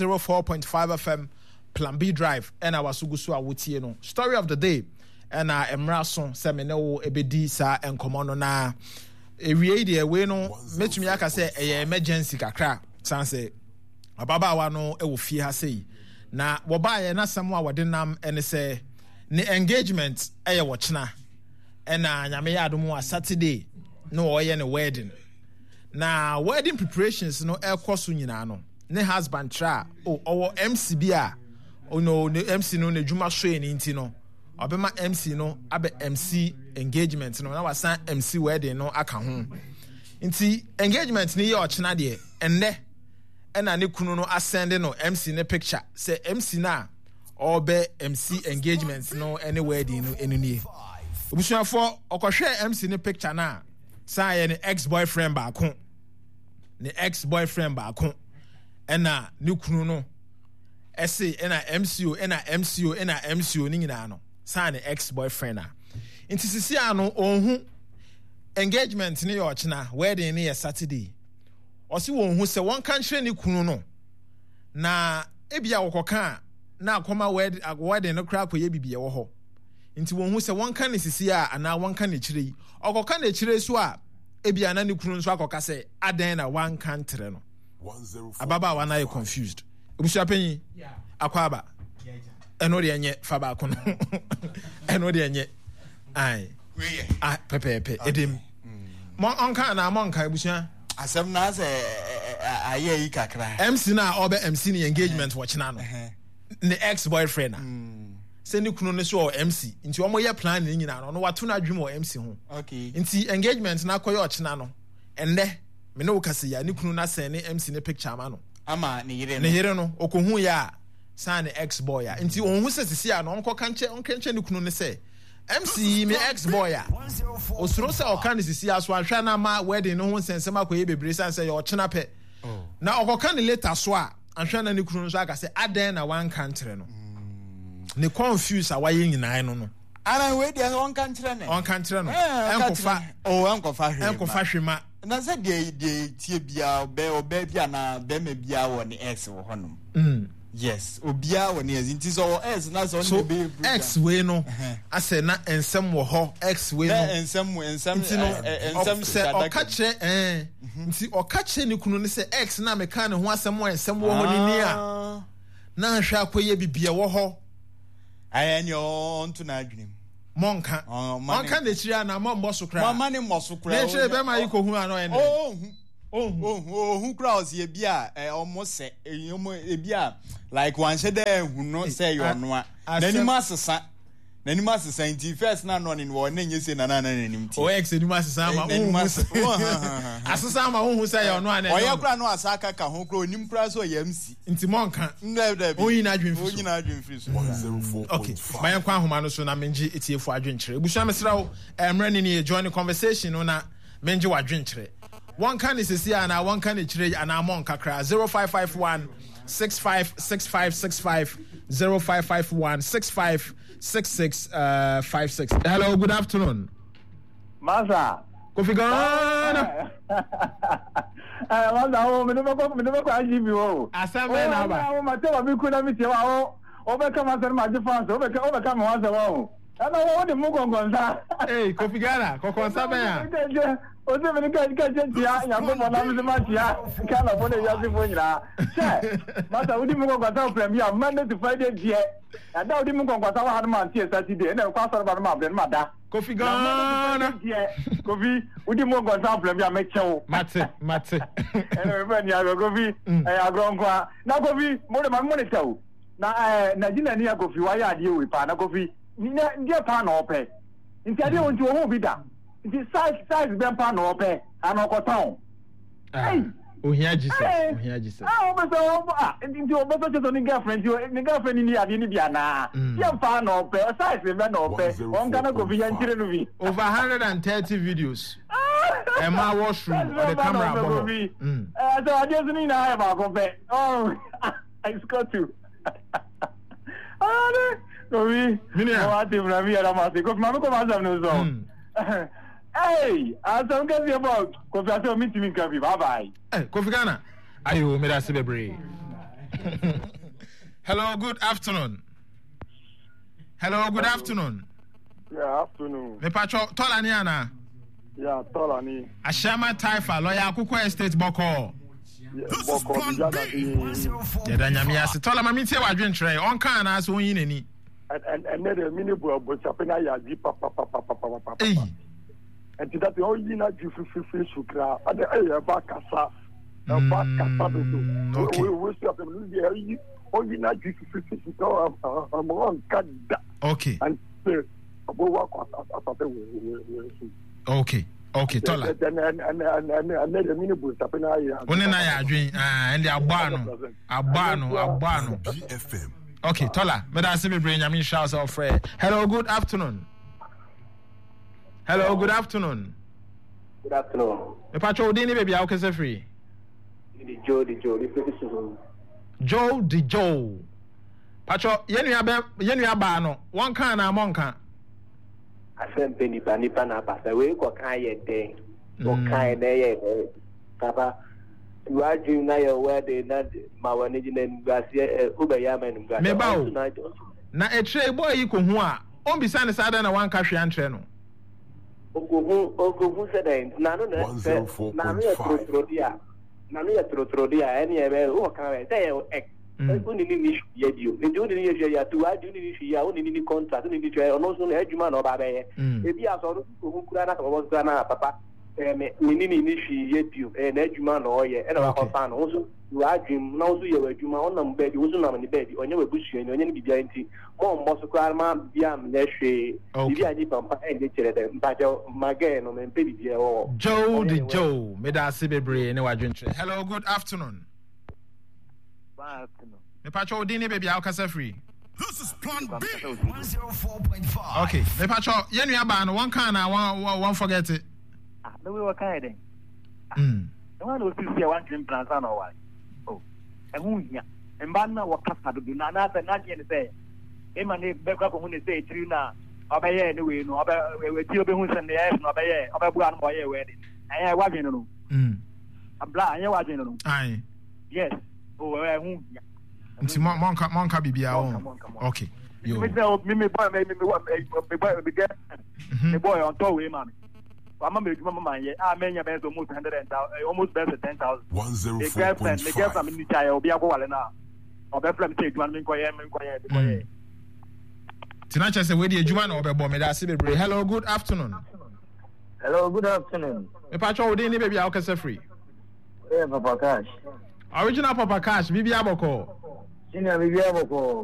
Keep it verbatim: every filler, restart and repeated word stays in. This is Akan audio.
zero four point five F M, Plan B Drive ɛna waso gu so a wotie no. Story of the day ɛna mmra so sɛ me ne wo ɛbɛdi saa nkɔmmɔ no. Na ewie yi deɛ, wei no mɛtumi aka sɛ ɛyɛ emergency kakra, san sɛ ababaawa no wɔ fie ha sei na wɔbaeɛ. N'asɛm a wɔde nam ɛne sɛ ne engagement ɛyɛ wɔkyena, ɛna Nyame yɛ adom a, Saturday na wɔyɛ ne wedding. Na wedding preparations no ɛkɔ so nyinaa no, ne husband tra a ɔwɔ M C bi a ɔno ne M C no n'adwuma so yɛ ne nti no, ɔbɛma M C no abɛ M C engagement no na wasan M C wedding no aka ho. Nti engagement no yɛ ɔkyena deɛ, ɛnnɛ ɛna ne kunu no asend no M C ne picture sɛ M C no a ɔbɛ M C engagement no ne wedding no ɛno nie. Obusuafoɔ, ɔkɔhwɛ M C ne picture no a, saa yɛ ne ex boyfriend baako, ne ex boyfriend baako ɛna ne kunu no ɛse ɛna M C O, ɛna M C O, ɛna M C O ne nyinaa no saa ne ex boyfriend a. Nti sisi a no ɔnhu engagement ne yɛ ɔkyena, wedding ne yɛ Saturday. Ɔsi wɔn hu sɛ wɔn ka nkyerɛ ne kunu no, na ebi a wɔkɔka a na akɔma wedding no koraa akɔyɛ bibi ɛwɔ hɔ. Nti wɔn hu sɛ wɔn ka ne sisi a anaa wɔn ka n'akyire yi. Ɔkɔka n'akyire so a, ebi a na ne kunu nso akɔka sɛ adan na wanka ntere no. Ababaawa no ayɛ confused. Ebusua panyin akɔ aba, ɛno deɛ nyɛ fa baako no, ɛno deɛ nyɛ ayi ah pɛpɛɛpɛ edim mo ɔnka anaa mo nka, ebusua. Asɛm na sɛ ayɛ yi kakra. M C na ɔbɛ M C ne engagement wɔ kyena no, ne ex boyfriend a sɛ ne kunu no so wɔ M C, nti wɔn yɛ plan ne nyinaa no, ɔno wato no adwene wɔ M C ho. Nti engagement na akɔyɛ ɔkyena no, ɛnnɛ me ne wo kasa yi a, ne kunu no asɛn ne M C ne picture ama no. Ama ne yere no. Ne yere no okohu yɛ a, saa ne ex boy a. Nti ohun sɛ sisi a no ɔnkɔ kankyɛ ɔnka nkyɛn ne kunu ne sɛ M C yi me ex boy a. Osuro sɛ ɔka ne sisi aso ahwɛ na ama wedding no ho nsɛnsɛm akɔyɛ bebree, san sɛ yɛ ɔkyena pɛ na ɔkɔka ne later so a, ahwɛ na ne kunu nso aka sɛ adɛn na wanka nkyerɛ no. Ne confuse a wayɛ nyinaa no no Ana wei deɛ, ɔnka nkyerɛ ne. Ɔnka nkyerɛ no. Ɛnkɔfa. O, ɛnkɔfa hwee. Ɛnkɔfa hwee ma. Na sɛ deɛ deɛ tie biara, ɔbɛ ɔbɛ bi anaa bɛrima biara wɔ ne ex wɔ hɔnom. Mm. Yes, obiara wɔ ne ex, nti sɛ ɔwɔ ex na sɛ ɔne so ne bɛyɛ. Ex wei no asɛ na nsɛm wɔ hɔ, ex wei no. Nsɛm nsɛm. Nti no nsɛm. Sɛ ɔka kyerɛ ɛn nti ɔka kyerɛ ne kunu ne sɛ ex na meka ne ho asɛm wɔ nsɛm wɔ hɔ ne ni a, na ahwɛ akɔyɛ bibi ɛwɔ hɔ. Ayɛ ni ɔnto n'adwene mu. Mɔnka ɔnka n'akyiri ana mɔmmɔ so koraa? Mɔmma ne mmɔ so koraa. N'akyiri bɛma yi kɔhu ano ɛnɛ. Ɔnhu, ɔnhu, ɔhu koraa. Ɔsi ebi a ɔmo sɛ ɔmo ebi a like wanhyɛ dɛ ehu no sɛ ɛyɛ ɔno a, n'anim asesa, n'anim asesa. Nti first na nɔ ne no wɔ ne nye se na na na n'anim ti. Ɔyɛ ex anim asesa ama n'anim wohu asesa asesa ama wohu sɛ ɛyɛ ɔno a na ɔyɛ koraa no asa akaka ho koraa, onim koraa sɛ ɔyɛ M C. Nti mɔnka. Ndɛ ɔnyi n'adwene fi so. Ɔnyi n'adwene firi so. Okay, ma yɛnkɔ ahoma no so na mengye etiefo adwenkyerɛ. Ebusua, mesrɛ wo, mmerɛ ne nie, join the conversation no na mengye w'adwenkyerɛ. Wɔnka ne sisi anaa wɔnka ne kyerɛ anaa mɔnka koraa? zero five five one six five six five six five, zero five five one six five six six uh, five six. Hello, good afternoon. Masa. Kofi Ghana. Eh, masa, o me de bɛkɔ me de bɛkɔ I G P o. Asɛm bɛn na aba? O ma tɛ wa bi ku na mi tie wa o. O bɛ ka ma sɛ ma gye fans, o bɛ ka o bɛ ka me wa sɛ wa o. Ɛna wo de mu kɔnkɔnsa. Ee, Kofi Ghana, kɔnkɔnsa bɛn a? O sɛ mi ni ka ka kyɛ tia Nyankopɔn na mi sɛ ma tia Ghana fo ne wiase fo nyinaa. Sɛ masa wodi mu kɔnkɔnsa wɔ plan bi a, Monday to Friday deɛ. Ɛda wodi mu kɔnkɔnsa wɔ ha no ma ntie Saturday, ɛna ɛkɔ asɔre ba no ma brɛ no ma da. Kofi Ghana. Kofi, wodi mu kɔnkɔnsa wɔ plan bi a, mɛkyɛw. Mate, mate. Ɛna mefɛ ni agorɔ, Kofi, ɛyɛ agorɔ nko a. Na Kofi, mo de ma mo ne kyɛw. Na ɛɛ na gyina ni a, Kofi wayɛ adeɛ wei paa. Na Kofi, ne deɛ paa na ɔpɛ. Nti adeɛ wo nti ohun bi da. Nti size size bɛn paa na ɔpɛ ana ɔkɔtɔn? Ah, ohia Jesus, ohia Jesus. Ah, ɔbɛ sɛ ɔbɔ ah nti ɔbɛ sɛ kyerɛ sɛ ne girlfriend, nti ne girlfriend ni adeɛ ni bi anaa? Deɛ paa na ɔpɛ, size bɛn na ɔpɛ? Ɔnka na Kofi yɛn kyerɛ no bi. Over hundred and thirty videos. Ɛma washroom ɔde camera bɔ hɔ. Ɛɛ sɛ adeɛ so ne nyinaa yɛ baako pɛ. Oh, it's got to. Kofi, Minia. Mo ate muna mi yɛrɛ ma se. Kofi, maame kɔ ma asɛm no so. Hey, asɛm kɛseɛ bɔ. Kofi, asɛm mi ntumi nka bi. Bye bye. Eh, Kofi Ghana. Ayo, meda ase bebree. Hello, good afternoon. Hello, good afternoon. Yeah, afternoon. Mepatwɔ tɔla ni ana? Yeah, tɔla ni. Ahyɛma Taifa, lɔya Akoko Estate bɔkɔɔ. Bɔkɔɔ bi yada bi. Yɛda Nyame ase. Tɔla ma mentie w'adwenkyerɛ. Ɔnka anaasɛ ɔnyi n'ani? Ɛnɛ deɛ mene bu abɔsape no ayɛ adwi papapapapapapa. Nti date ɔyi n'adwi fififiri so kra ade ɛyɛ ɛba kasa ɛba kasa dodo. Okay. Wo so apɛm no deɛ ɔyi ɔyi n'adwi fififiri so kra ɔmo ɔnka da. Okay. Nti ɔbɛwu akɔ asase wɔ wɔ so. Okay. Okay, tɔla. Ɛnɛ deɛ mene bu nsape no ayɛ. Wo ne na yɛ adwen. Ɛnde abɔ ano. Abɔ ano, abɔ ano. Okay, tɔla. Meda ase bebree, Nyame nhyira wo sɛ ɔfrɛ. Hello, good afternoon. Hello, good afternoon. Good afternoon. Mepatwa wo din ne baabi a wokasa firi. Di Joe di Joe, di firi suhum. Joe di Joe. Patwa yɛn nua bɛ yɛn nua baa no, wɔn ka anaa mɔnka? Asɛm pɛ nipa nipa na aba sɛ wei kɔ kan yɛ dɛn? Kɔ kan na ɛyɛ dɛn? Papa, wadwin na yɛ wɛde na ma w'ani gye na animguaseɛ ɛ wobɛyɛ ama animguaseɛ. Meba o. Na akyire yi boy yi kɔhu a, ɔmbisa no sɛ adɛn na wanka hwee ankyerɛ no? Okohu okohu sɛ dɛn? N'ano na sɛ n'ano yɛ torotoro de a, n'ano yɛ torotoro de a, ɛne ɛbɛ wɔ kan bɛ sɛ yɛ ɛ wone ne ni hwee yɛ bio. Nti wone ne yɛ hwee yɛ to w'adwene wone ne hwee yɛ a wone ne ni contract wone ne hwee ɔno nso no adwuma na ɔba abɛyɛ. Ebi a sɛ ɔno nso kohu koraa na sɛ ɔbɔ so koraa na papa ɛɛ me me ne ne ni hwee yɛ bio ɛyɛ n'adwuma na ɔyɛ ɛna wakɔfa no wo nso w'adwene mu na wo nso yɛ w'adwuma ɔnam baabi wo nso nam ne baabi ɔnyɛ w'abusuani ɔnyɛ ne biribiara nti mɔmmɔ so koraa ma biribiara nyɛ hwee biribi a nipa mpa ɛnyɛ kyerɛ dɛ mpakyɛw ma gɛɛ no mempɛ biribiara wɔ hɔ. Joe de Joe, meda ase bebree ne w'adwenkyerɛ. Hello, good afternoon. Mepakyɛ wo din ne baabi a wokasa firi. This is Plan B. one zero four point five. Okay, mepakyɛ yɛn nua baa no wɔn kan na wɔn wɔn forget it. Ah, na wei wɔka yɛ dɛn? Mm. Na wɔn na osisi a wɔntwe mpena ansa na ɔware. Oh, ɛho hia. Mmaa no na wɔkasa dodo na anaasɛ n'adwene ne sɛ ema ne bɛkɔ akɔhu ne sɛ etiri na ɔbɛyɛ ne wei no ɔbɛ etiri ɔbɛhu sɛ ne yɛ no ɔbɛyɛ ɔbɛboa no ma ɔyɛ wɛde. Ɛyɛ wadwene no no. Mm. Abla ɛyɛ wadwene no no. Aye. Yes. Oh, ɛho hia. Nti mo monka monka biribiara wɔn. Okay. Yo. Me sɛ me me boy me me me boy me girl me boy ɔntɔ wei ma me. Wama me adwuma ma manyɛ a manya bɛyɛ sɛ almost hundred and thousand almost bɛyɛ sɛ ten thousand. One zero Me four point girlfriend me girlfriend five. me ni kyaeɛ obi akɔwale no a ɔbɛfrɛ me sɛ adwuma no menkɔyɛ menkɔyɛ menkɔyɛ. Nti na kyerɛ sɛ wei deɛ adwuma na ɔbɛbɔ. Meda ase bebree. Hello, good afternoon. Hello, good afternoon. Mepakyɛ wo din ne baabi a wokasa firi. Yeah, Papa Cash. Original Papa Cash, biribi abɔkɔ. Senior, biribi abɔkɔ.